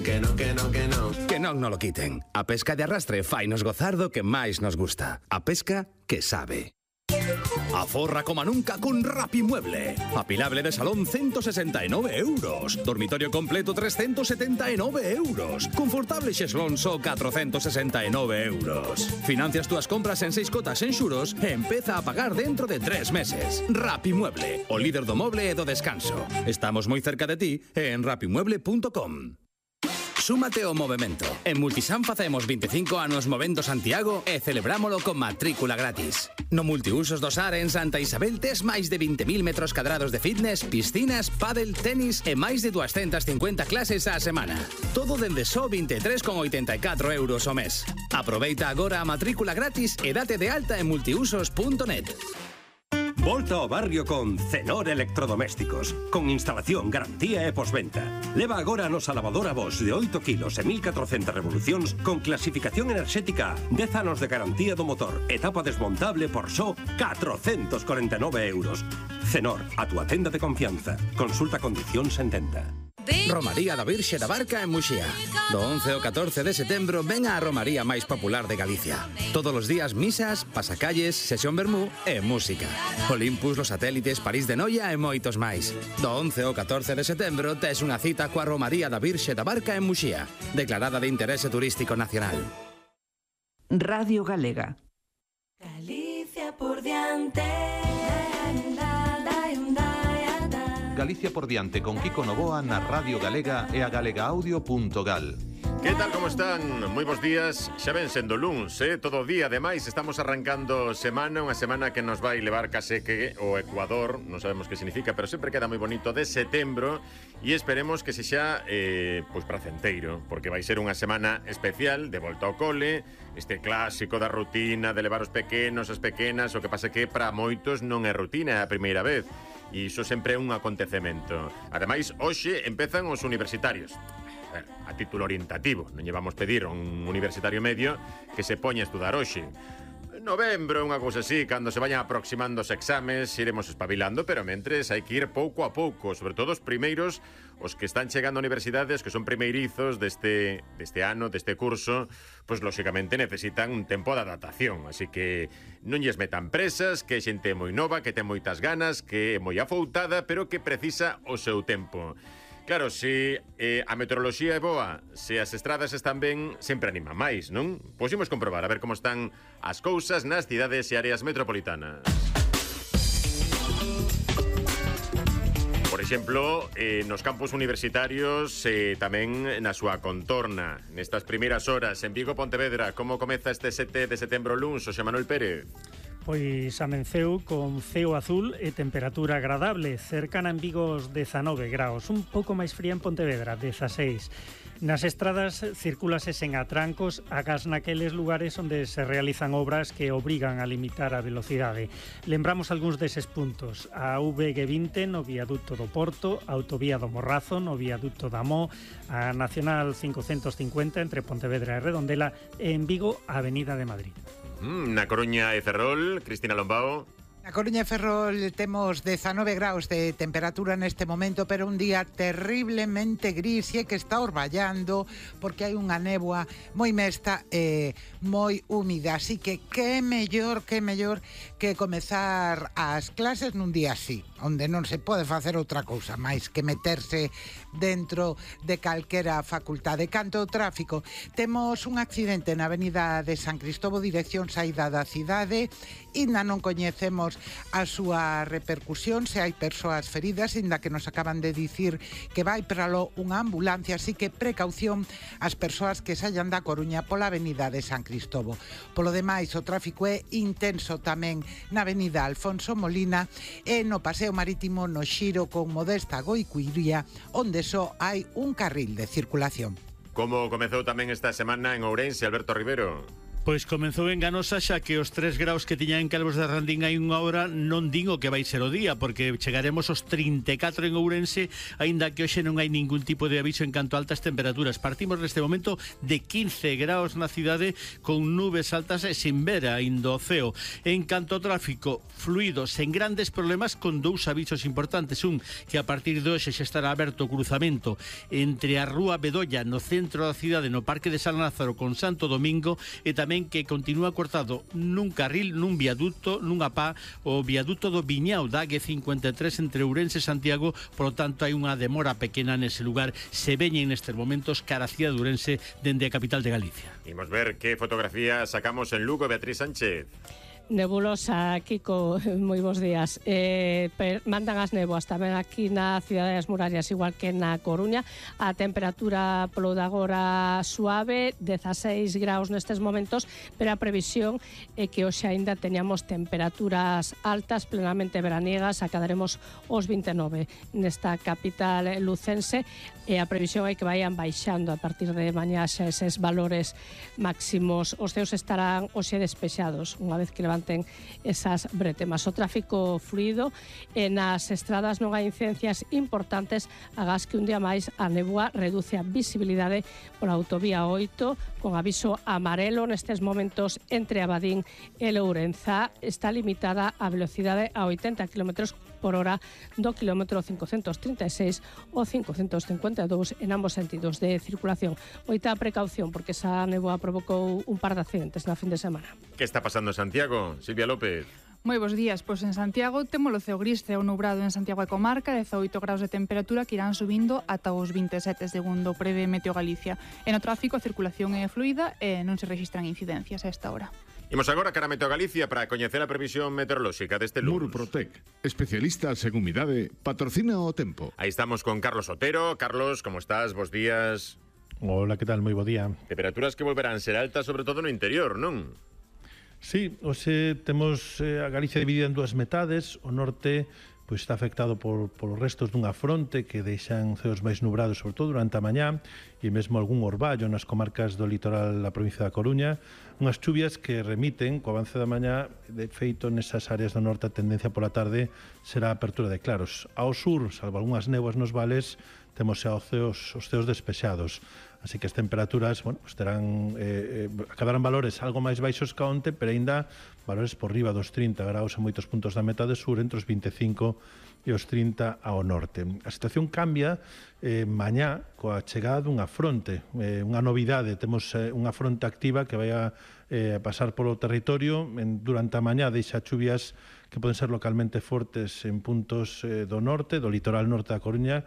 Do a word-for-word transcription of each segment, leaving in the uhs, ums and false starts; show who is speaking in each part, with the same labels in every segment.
Speaker 1: que non, que non, que non.
Speaker 2: Que non no lo quiten. A pesca de arrastre fainos gozar do que máis nos gusta. A pesca que sabe. Aforra como nunca con Rapimueble. Apilable de salón ciento sesenta e nove euros. Dormitorio completo trescientos setenta e nove euros. Confortable xeslón só catrocentos sesenta e nove euros. Financias túas compras en seis cotas en xuros e empeza a pagar dentro de tres meses. Rapimueble, o líder do moble e do descanso. Estamos moi cerca de ti e en rapimueble punto com. Súmate ao movemento. En Multisan facemos veinticinco anos movendo Santiago e celebrámolo con matrícula gratis. No Multiusos do Sar en Santa Isabel tes máis de vinte mil metros cadrados de fitness, piscinas, pádel, tenis e máis de doscientas cincuenta clases á semana. Todo dende só vinte e tres con oitenta e catro euros ao mes. Aproveita agora a matrícula gratis e date de alta en multiusos punto net.
Speaker 3: Volta ao barrio con Cenor Electrodomésticos, con instalación, garantía e posventa. Leva agora a nosa lavadora Bosch de oito kilos e mil catrocentas revolucións con clasificación enerxética, dez anos de garantía do motor, etapa desmontable por só catrocentos corenta e nove euros. Cenor, a túa tenda de confianza. Consulta condicións en tenda.
Speaker 2: Romaría da Virxe da Barca en Muxía. Do once ao catorce de setembro ven a romaría máis popular de Galicia. Todos os días misas, pasacalles, sesión vermú e música. Olympus, los satélites, París de Noia e moitos máis. Do once ao catorce de setembro tes unha cita coa Romaría da Virxe da Barca en Muxía, declarada de interese turístico nacional.
Speaker 4: Radio Galega.
Speaker 5: Galicia por diante.
Speaker 6: Galicia por diante con Kiko Novoa na Radio Galega e a galegaaudio punto gal.
Speaker 7: Que tal, como están? Moi bons días. Xa ven sendo luns, eh? Todo o día, ademais, estamos arrancando semana, unha semana que nos vai levar case que o Ecuador, non sabemos que significa, pero sempre queda moi bonito, de setembro, e esperemos que se xa, eh, pois, pracenteiro, porque vai ser unha semana especial, de volta ao cole, este clásico da rutina de levar os pequenos, as pequenas, o que pasa que para moitos non é rutina, é a primeira vez, e iso sempre é un acontecemento. Ademais, hoxe empezan os universitarios. A título orientativo, non llevamos pedir a un universitario medio que se poña a estudar hoxe. Novembro, unha cousa así, cando se vayan aproximando os exames, iremos espabilando, pero mentres hai que ir pouco a pouco, sobre todo os primeiros, os que están chegando a universidades, que son primeirizos deste, deste ano, deste curso, pois lóxicamente necesitan un tempo de adaptación, así que non lles metan presas, que é xente moi nova, que ten moitas ganas, que é moi afoutada, pero que precisa o seu tempo. Claro, se eh, a meteoroloxía é boa, se as estradas están ben, sempre anima máis, non? Pois imos comprobar a ver como están as cousas nas cidades e áreas metropolitanas. Por exemplo, eh, nos campus universitarios e eh, tamén na súa contorna. Nestas primeiras horas, en Vigo, Pontevedra, como comeza este sete de setembro luns, Xosé Manuel Pérez?
Speaker 8: Pois amenceu con ceo azul e temperatura agradable, cercana en Vigo os dezanove graus, un pouco máis fría en Pontevedra, dezaseis. Nas estradas circúlase sen atrancos, agás naqueles lugares onde se realizan obras que obrigan a limitar a velocidade. Lembramos algúns deses puntos: a V G vinte no viaducto do Porto, a autovía do Morrazo no viaducto da Mó, a Nacional cincocentos cincuenta entre Pontevedra e Redondela e en Vigo a Avenida de Madrid.
Speaker 7: Mm, na Coruña e Ferrol, Cristina Lombao.
Speaker 9: Na Coruña e Ferrol temos dezanove graus de temperatura neste momento, pero un día terriblemente gris e que está orballando porque hai unha néboa moi mesta e moi húmida, así que que mellor, que mellor que comezar as clases nun día así, onde non se pode facer outra cousa máis que meterse dentro de calquera facultade. Canto ao tráfico, temos un accidente na avenida de San Cristobo, dirección saída da cidade, ainda non coñecemos a súa repercusión, se hai persoas feridas, ainda que nos acaban de dicir que vai para lo unha ambulancia, así que precaución ás persoas que saian da Coruña pola avenida de San Cristobo. Polo demais, o tráfico é intenso tamén na avenida Alfonso Molina e no paseo marítimo no xiro con Modesta Goicuiría, onde só hai un carril de circulación.
Speaker 7: Como comezou tamén esta semana en Ourense, Alberto Rivero?
Speaker 1: Pois comezou enganosa xa que os tres graus que tiña en Calvos de Randín hai unha hora non din o que vai ser o día, porque chegaremos aos trinta e catro en Ourense, aínda que hoxe non hai ningún tipo de aviso en canto a altas temperaturas. Partimos neste momento de quince graus na cidade con nubes altas e sin ver aínda o ceo. En canto ao tráfico, fluido, sen grandes problemas, con dous avisos importantes. Un, que a partir de hoxe xa estará aberto o cruzamento entre a Rúa Bedolla no centro da cidade, no Parque de San Lázaro con Santo Domingo, e tamén que continúa cortado nun carril, nun viaduto, nunha pá, o viaduto do Viñao da A cincuenta e tres entre Ourense e Santiago. Por lo tanto, hai unha demora pequena nese lugar. Se veñen nestes momentos cara a cidade de Ourense dende a capital de Galicia.
Speaker 7: Imos ver que fotografía sacamos en Lugo, Beatriz Sánchez.
Speaker 10: Nebulosa, Kiko, moi bons días. Eh, per, mandan as néboas tamén aquí na cidade das murallas, igual que na Coruña. A temperatura polo de agora suave, dezaseis graus nestes momentos, pero a previsión é que hoxe aínda teñamos temperaturas altas, plenamente veraniegas, acadaremos os vinte e nove nesta capital lucense, e a previsión é que vayan baixando a partir de mañá xa eses valores máximos. Os ceos estarán hoxe despexados, unha vez que levanten esas bretemas. O tráfico fluido, e nas estradas non hai incidencias importantes, agás que un día máis a néboa reduce a visibilidade pola autovía oito, con aviso amarelo nestes momentos entre Abadín e Lourenza. Está limitada a velocidade a oitenta kilómetros por hora do kilómetro cincocentos trinta e seis ou cincocentos cincuenta e dous en ambos sentidos de circulación. Moita precaución, porque esa néboa provocou un par de accidentes na fin de semana.
Speaker 7: Que está pasando en Santiago? Silvia López.
Speaker 11: Moi bons días, pois en Santiago temos o ceo gris, ceo nubrado en Santiago e comarca, dezaoito graus de temperatura que irán subindo ata os vinte e sete segundo prevé Meteo Galicia. E no tráfico a circulación é fluida e non se rexistran incidencias a esta hora.
Speaker 7: Imos agora cara a Meteo Galicia para coñecer a previsión meteorolóxica deste lunes.
Speaker 12: Murprotec, especialistas en humidade, patrocina o tempo.
Speaker 7: Aí estamos con Carlos Otero. Carlos, como estás? Bos días.
Speaker 13: Hola, que tal? Moi bo día.
Speaker 7: Temperaturas que volverán ser altas, sobre todo no interior, non?
Speaker 13: Sí, hoxe temos eh, a Galicia dividida en dúas metades. O norte pois está afectado por, por os restos dunha fronte que deixan ceos máis nubrados, sobre todo durante a mañá, e mesmo algún orballo nas comarcas do litoral da provincia da Coruña. Unhas chuvias que remiten co avance da mañá. De feito, nesas áreas do norte a tendencia pola tarde será a apertura de claros. Ao sur, salvo algunhas néboas nos vales, temos xa os ceos, os ceos despexados. Así que as temperaturas, bueno, pues terán, eh, eh, acabarán valores algo máis baixos que onte, pero aínda valores por riba dos trinta graus en moitos puntos da metade sur, entre os vinte e cinco e os trinta ao norte. A situación cambia eh, mañá coa chegada dunha fronte, eh, unha novidade. Temos eh, unha fronte activa que vai a eh, pasar polo territorio. En, durante a mañá deixa chuvias que poden ser localmente fortes en puntos eh, do norte, do litoral norte da Coruña.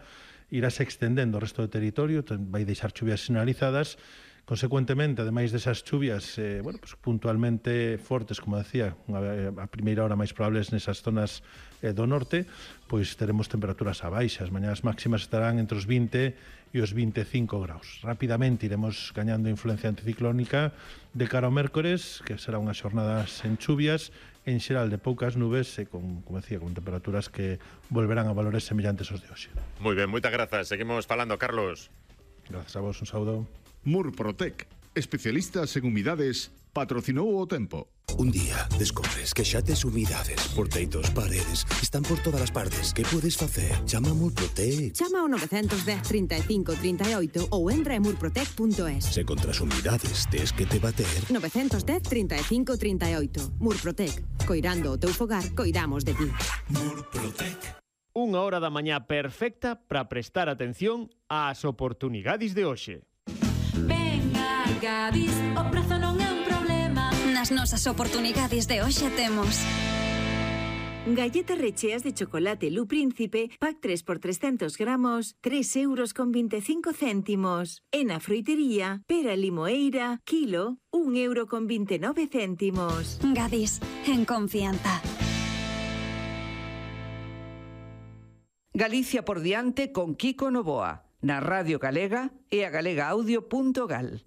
Speaker 13: Irase extendendo o resto do territorio, vai deixar chuvias sinalizadas. Consecuentemente, ademais desas chuvias eh, bueno, pues, puntualmente fortes, como decía, a primeira hora máis probables nesas zonas eh, do norte, pois teremos temperaturas a baixa. As mañás máximas estarán entre os vinte e os vinte e cinco graus. Rapidamente iremos gañando influencia anticiclónica de cara ao mércores, que será unhas xornadas en chuvias, en xeral de poucas nubes e con, como decía, con temperaturas que volverán a valores semellantes aos de hoxe.
Speaker 7: Moi ben, moitas grazas. Seguimos falando, Carlos.
Speaker 13: Grazas a vos, un saúdo.
Speaker 12: Murprotec, especialistas en humidades, patrocinou o tempo.
Speaker 14: Un día descubres que xa tes humidades por teitos, paredes, están por todas as partes. Que podes facer? Chama a Murprotec.
Speaker 15: Chama ao nove dez, trinta e cinco, trinta e oito ou entra en murprotec punto es.
Speaker 14: Se contra as humidades tes que te bater.
Speaker 15: nove dez, trinta e cinco, trinta e oito. Murprotec. Coirando o teu fogar, coidamos de ti.
Speaker 16: Murprotec. Unha hora da mañá perfecta para prestar atención ás oportunidades de hoxe.
Speaker 5: Venga, Gadis, o prezo non é un problema.
Speaker 17: Nas nosas oportunidades de hoxe temos
Speaker 18: galletas recheas de chocolate Lu Príncipe, pack tres por trescentos gramos, tres euros con veinticinco céntimos. En a froitería, pera limoeira, kilo, un euro con veintinueve céntimos.
Speaker 17: Gadis, en confianza.
Speaker 4: Galicia por diante con Kiko Novoa, na Radio Galega e a galega audio punto gal.